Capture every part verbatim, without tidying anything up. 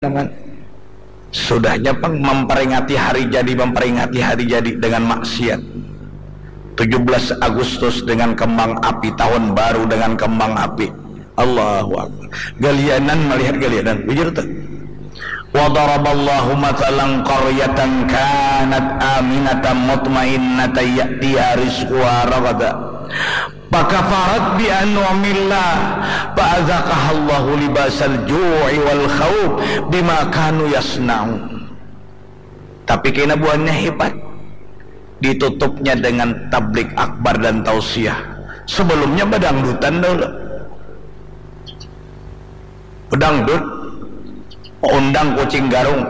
Jangan. Sudahnya pang memperingati hari jadi, memperingati hari jadi dengan maksiat. Tujuh belas Agustus dengan kembang api, tahun baru dengan kembang api. Allahu Akbar. Galianan melihat galianan. Bujur tuh. Wa daraballahu mathalan qaryatan kanat aminatan mutmainnatan ya'tiha rizquha raghada. Fakafarat bi an'umillah, fa azaqahallahu libasal ju'i wal khauf bima kanu yasna'un. Tapi kena buahnya hebat. Ditutupnya dengan tablik akbar dan tausiah. Sebelumnya badangdutan dahulu. Pedangdut, undang Kucing Garung.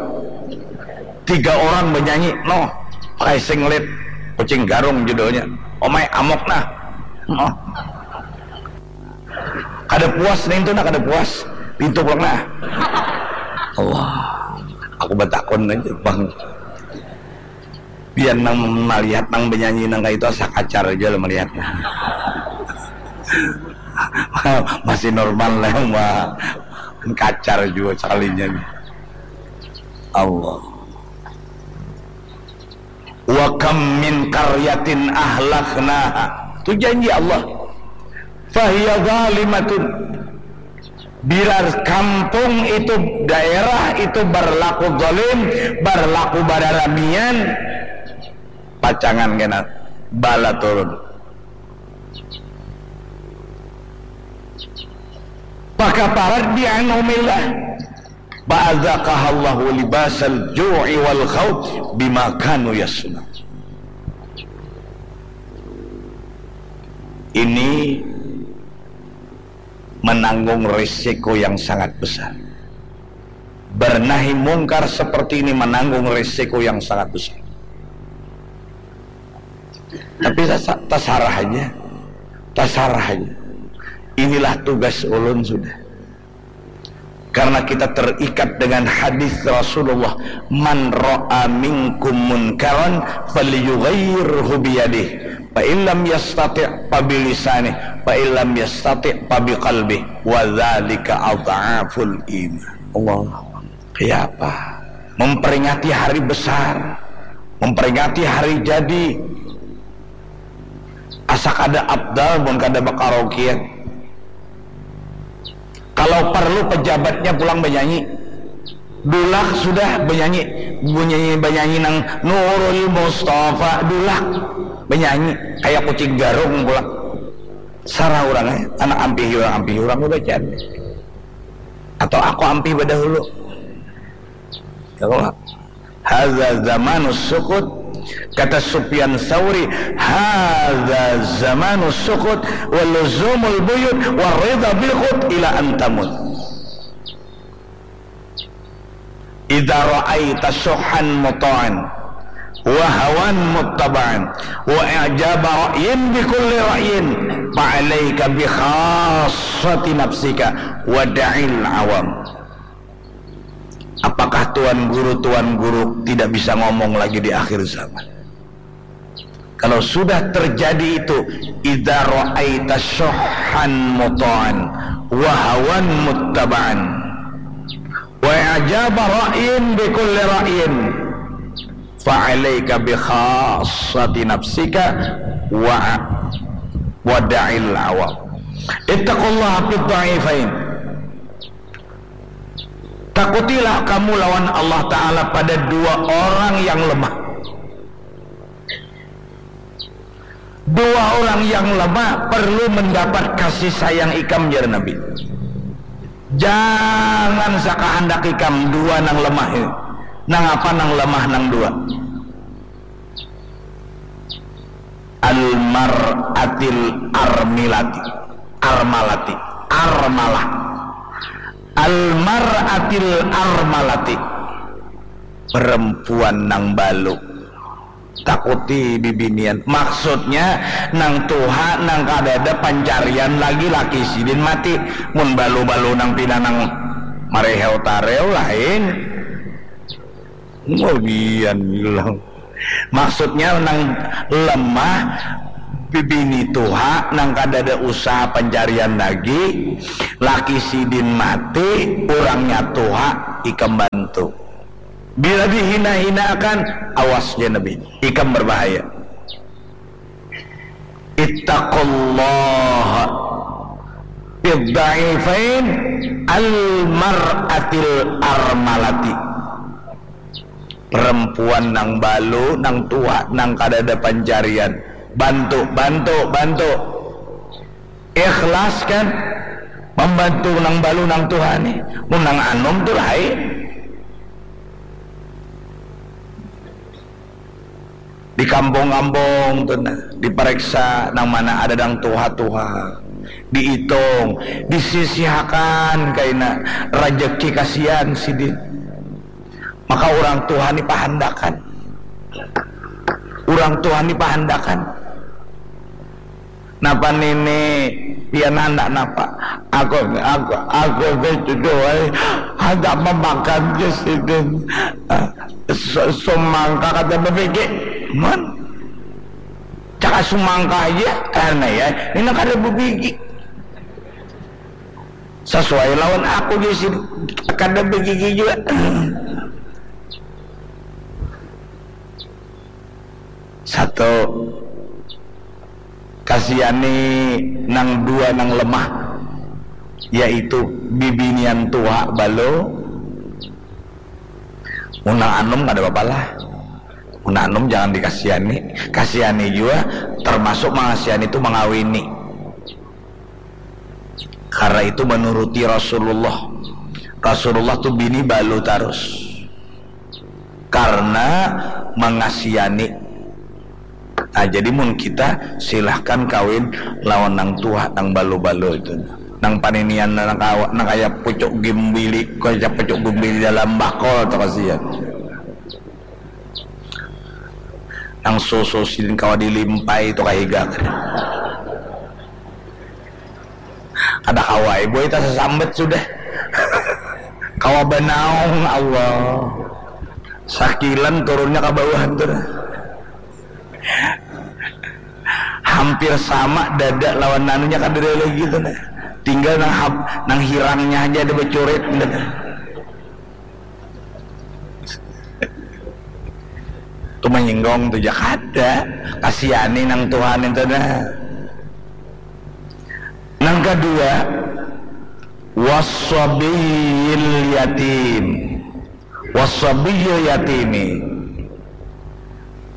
Tiga orang menyanyi, noh, pakai singlet, Kucing Garung judulnya. Omai amok nah. Noh. Kada puas nih itu nah, kada puas. Pintu pulang nah. Allah, aku batakun aja, Bang. Biar nang melihat nang menyanyi nang kayak itu asa kacar aja lah melihat. Masih normal lah, Mbak. Kacar juga sekalinya nih. Allah. Wa kam min qaryatin ahlaknaha. Itu janji Allah. Fahiya zalimatun. Biar kampung itu, daerah itu berlaku zalim, berlaku bararamian, pacangan kena bala turun. Fakafarat bi an'umillah. Fa'adzaqahallahu libasal ju'i wal khauf bima kanu yasna'un. Ini menanggung risiko yang sangat besar. Bernahi mungkar seperti ini menanggung risiko yang sangat besar. Tapi tasa-, tasarah aja. Tasarah aja. Inilah tugas ulun sudah. Karena kita terikat dengan hadis Rasulullah, "Man ra'a minkum munkaran falyughayyirhu biyadih, fa illam yastati' fa bilisanih, fa illam yastati' fa biqalbih, wa dzalika adhaful iman." Allah. Kayak apa? Memperingati hari besar, memperingati hari jadi. Asa kada abdal mun kada bakaraokean. Kalau perlu pejabatnya pulang banyanyi. Dulak sudah banyanyi, bunyi banyanyi nang Nurul Mustafa, dulak banyanyi kayak Kucing Garung pulang. Sarah urang, eh, anak ampih urang, ampih urang udah jadi. Atau aku ampih badahulu. Ya Allah. Hadza zamanus sukut. Kata Sufyan Sauri, "Hadza zamanus sukut wa luzumul buyut wa ridha bil qut ila an tamut." Idza ra'aita syuhan muta'an wa hawan muttaba'an wa i'jaba ra'yin bi kulli ra'yin, fa 'alaika bi khassati nafsika wa da'il awam. Apakah tuan guru, tuan guru tidak bisa ngomong lagi di akhir zaman? Kalau sudah terjadi itu, idza ra'aita syuhan muta'an wa hawan muttaba'an wa i'jaba ra'yin bi kulli ra'yin, fa 'alaika bi khassati nafsika wa, wa da'il awam. Ittaqullaha fid dha'ifain. Takutilah kamu lawan Allah Ta'ala pada dua orang yang lemah. Dua orang yang lemah perlu mendapat kasih sayang ikam, jar Nabi. Jangan sakahandak ikam dua nang lemah ini. Nang apa nang lemah nang dua? Al-mar'atil armilati. Armalati. Armalah. Al-mar'atil armalati. Perempuan nang balu. Takuti bibinian. Maksudnya, nang tuha, nang kadada pancarian lagi, laki sidin mati. Mun balu-balu nang pina nang mareheu tareu lain. Mudian bilang. Maksudnya, nang lemah, bibini tuha, nang kadada usaha pancarian lagi, laki sidin mati, urangnya tuha, ikam bantu. Bila dihina-hinaakan, awas, jar Nabi, ikam berbahaya. Ittaqullaha fid dha'ifain al mar'atil armalati. Perempuan nang balu, nang tuha, nang kadada pancarian. Bantu, bantu, bantu. Ikhlas kan? Membantu nang balu, nang tuha nih. Mun nang anum tu lain. Di kampung-kampung tu nah, diperiksa nang mana ada nang tuha-tuha. Diitung, disisihakan kaina rejeki, kasihan sidin. Maka urang tuha ni pahandakan. Urang tuha ni pahandakan. Napa nini, pian handak napa? Aku, aku, aku tu, ai, handak memakan je sidin. Ah, su-, sumangka kada babigi. Mun caka sumangka aja, karena ya, ini kada babigi. Sesuai lawan aku je sidin, kada babigi jua. Satu, kasihani nang dua nang lemah, yaitu bibinian tuha balu. Mun nang anum kada apa-apa lah. Mun nang anum jangan dikasihani. Kasihani jua, termasuk mangasihani tu mangawini. Karena itu menuruti Rasulullah. Rasulullah tu bini balu tarus. Karena mangasihani. Nah, jadi mun kita, silahkan kawin lawan nang tuha, nang balu-balu itu. Nang paninian, nang kawa, nang kaya pucuk gimbili, kaya pucuk gimbili dalam bakul tu, kasihan. Nang susu sidin kawa dilimpai tu, kahiga. Kada kawa ai, boy, tasasambat sudah. Kawa banaung, Allah. Sakilan turunnya ka bawah tu nah. Hampir sama dada lawan anunya, kada ada lagi tu nah. Tinggal nang hab-, nang hirangnya aja ada bacurit, tu nah. Tu manyinggong tu ja kada. Kasihani nang tuha ni tu nah. Nang kadua, wasabiyil yatim. Wasabiyil yatimi.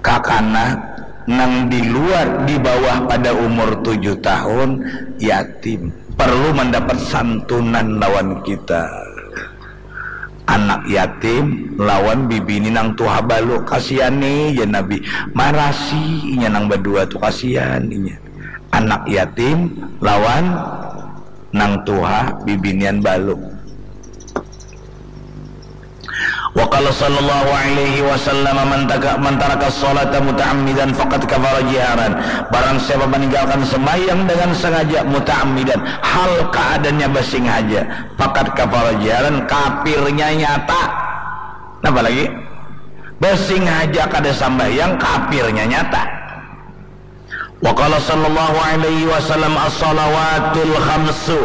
Kakanak nang di luar, di bawah pada umur tujuh tahun, yatim. Perlu mendapat santunan lawan kita. Anak yatim lawan bibini nang tuha balu, kasihani, jar Nabi. Marasi inya nang badua tu, kasihan inya. Anak yatim lawan nang tuha bibinian balu. Wa qala sallallahu alaihi wasallam, "Man taka-, man taraka sholata muta'ammidan faqad kafara jiharan." Barang siapa meninggalkan sembahyang dengan sengaja, muta'ammidan, hal keadaannya bersengaja, faqad kafara jiharan, kafirnya nyata. Napa lagi? Bersengaja kada sambahyang, kafirnya nyata. Wa qala sallallahu alaihi wasallam, "As-salawatul khamsu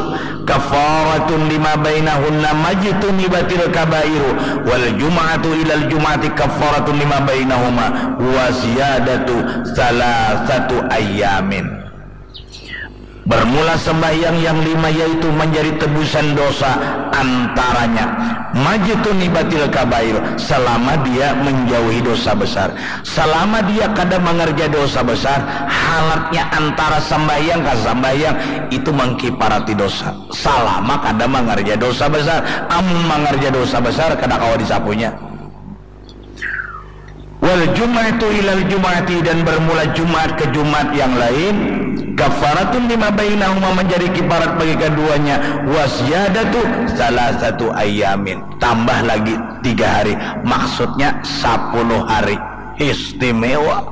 kafaratun lima bainahunna majtunibatil kabairu, wal jum'atu ilal jum'ati kafaratun lima bainahuma, wa ziyadatu salasatu ayyamin." Bermula sembahyang yang lima, yaitu menjadi tebusan dosa antaranya. Majtunibatil kabair, selama dia menjauhi dosa besar. Selama dia kada mengerja dosa besar, halatnya antara sembahyang ka sembahyang itu mengkiparati dosa. Selama kada mengerja dosa besar, amun mengerja dosa besar kada kawa disapunya. Wal jum'atu ilal jum'ati, dan bermula Jumat ke Jumat yang lain, kafaratun lima bainahuma, menjadi kiparat bagi keduanya, wa ziyadatu salasatu ayamin, tambah lagi tiga hari, maksudnya sepuluh hari istimewa,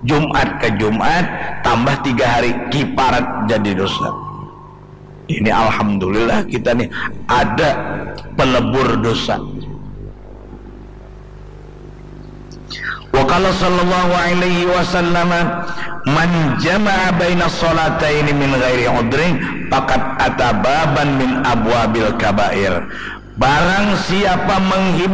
Jumat ke Jumat tambah tiga hari kiparat jadi dosa. Ini alhamdulillah kita nih ada pelebur dosa. Wa qala sallallahu alaihi wasallam, "Man jama'a baina salataini min ghairi udrin faqad ata baban min abwabil kabair." Barang siapa menghibur